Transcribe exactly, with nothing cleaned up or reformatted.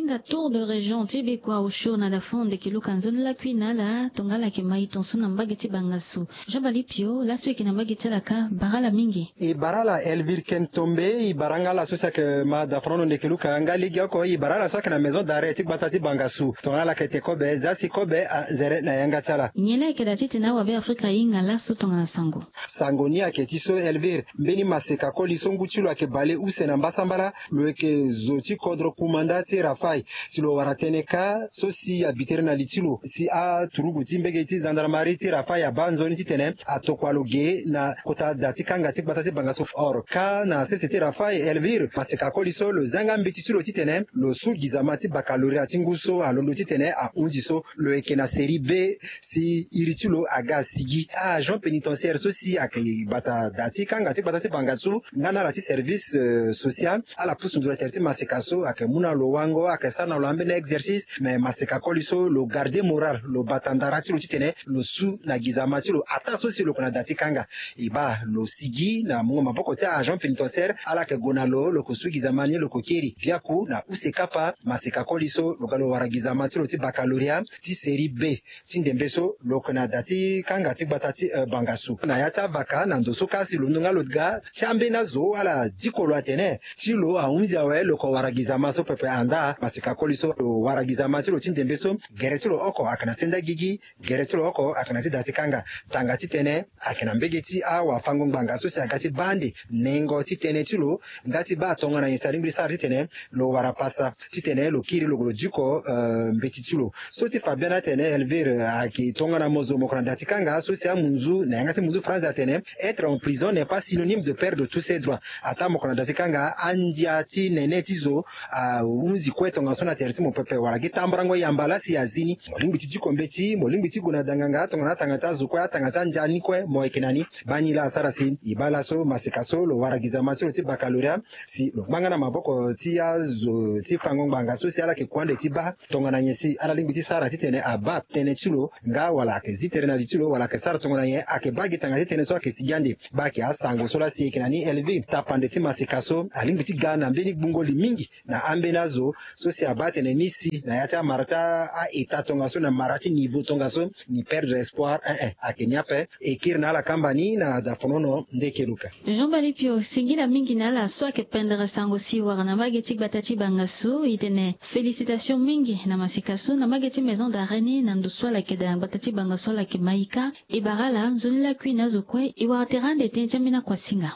Nga tour de région ti bikua osio na dafon ndeke luka nzoni lakui na ala tongala ayeke ma e tonso na mbage ti bangasu. Jean balipio laso e yeke na mbage ti ala ka bara ala mingi. E bara ala elvire ken tombe e bara nga ala so si ayeke ma dafonono ndeke luka nga legeoko e bara ala so ayeke na maison d'arrêt ti gbata ti bangasu tongana ala yeke te kobe za si kobe anzere na yanga ti ala. Nyen la ayeke daa titene awabe afrika ahinga laso tongana sango? Sango ni ayeke ti so elvire mbeni maseka koli so ngu ti lo ayeke bale use na mbasambala. Lo yeke zo ti kodro kumanda ti rafai si lo wara tënë kâ so si abi tere na li ti lo si aturugu ti mbege ti zandarmari ti rafai abaa nzoni titene atokua lo ge na kota da ti kanga ti gbata ti bangasu. Or kâ na sese ti rafai elvire maseka koli so lo za nga mbeti ti lo titene lo su gizama ti bakaloria ti ngu so alondo titene ahunzi so lo yeke na seri be si iri ti lo aga asigi. Agent pénitentiaire so si ayeke bata da ti kanga ti gbata ti bangasu nga na ala ti service social ala pusu nduru na tere ti maseka so ayeke mu na lo wango ayeke sara na lo ambeni exercice mais maseka koli so lo garde moral lo bata ndara ti lo titene lo su na gizama ti lo ataa so si lo yeke na da ti kanga. E baa lo sigi na mungo maboko ti agent pénitentiaire ala yeke gue na lo lo yeke su gizama ni lo yeke kiri biaku na use kapa maseka koli so lo ga lo wara gizama ti lo ti bakaloria ti seri be ti ndembe so lo yeke na da ti kanga ti gbata ti bangasu na ya ti avaka na ndo so kasi lo nonga lo ga ti ambeni azo ala diko lo atene ti lo ahunzi awe lo yeke wara gizama so pepe andaa maseka koli so lo wara gizama ti lo ti ndembe so gere ti lo oko ayeke na senda gigi. Gere ti lo oko ayeke na ti da ti kanga tanga titene ayeke na mbege ti awafango ngbanga so si aga ti baa ande nengo ti tënë ti lo nga ti baa tongana nyen si alingbi ti sara titene lo wara pasa titene lo kiri lo diko mbeti ti lo. So ti fa biani atene elvire ayeke tongana mo zo mo yeke na da ti kanga so si amunzu na yanga ti munzu franzi atene être en prison n'est pas synonyme de perdre tous ses droits. Ataa mo yeke na da ti kanga andia ti nene ti zo ahunzi kue tongaso na tere ti mo pepe wala gi tambarango yamba laa si azi ni mo lingbi ti diko mbeti mo lingbi ti gue na danganga tongana atanga ti azo kue atanga ti andia ni kue mo yeke na ni. Baa ni laa asara si e baa laso maseka so lo wara gizama ti lo ti bakaloria si lo ngbanga na maboko ti azo ti fango ngbanga so si ala yeke kue ande ti baa tongana nyen si ala lingbi ti sara titene abaa tënë ti lo nga wala ayeke zi tere na li ti lo wala ayeke sara tongana nyen ayeke baa gi tanga ti tënë so ayeke sigi ande. Baa ayeke asango so laa si e yeke na ni elvire tapande ti maseka so alingbi ti ga na mbeni gbungo li mingi na ambeni azo so si abaa atene ni si na ya ti amara ti a-eta tongaso na mara ti niveau tongaso ni perdre espoir eh eh ayeke ni ape. E kiri na ala kamba ni na dafonono ndeke luka. Jean balipio singila mingi na ala so ayeke pendere sango si wara na mbage ti gbata ti bangasu e tene félicitation mingi na maseka so na mbage ti maison d'arrêt ni na ndo so ala yeke daa na gbata ti bangasu ala yeke ma e ka. E bara ala nzoni lakui na azo kue e wara tere ande tënë ti ambeni akuasinga.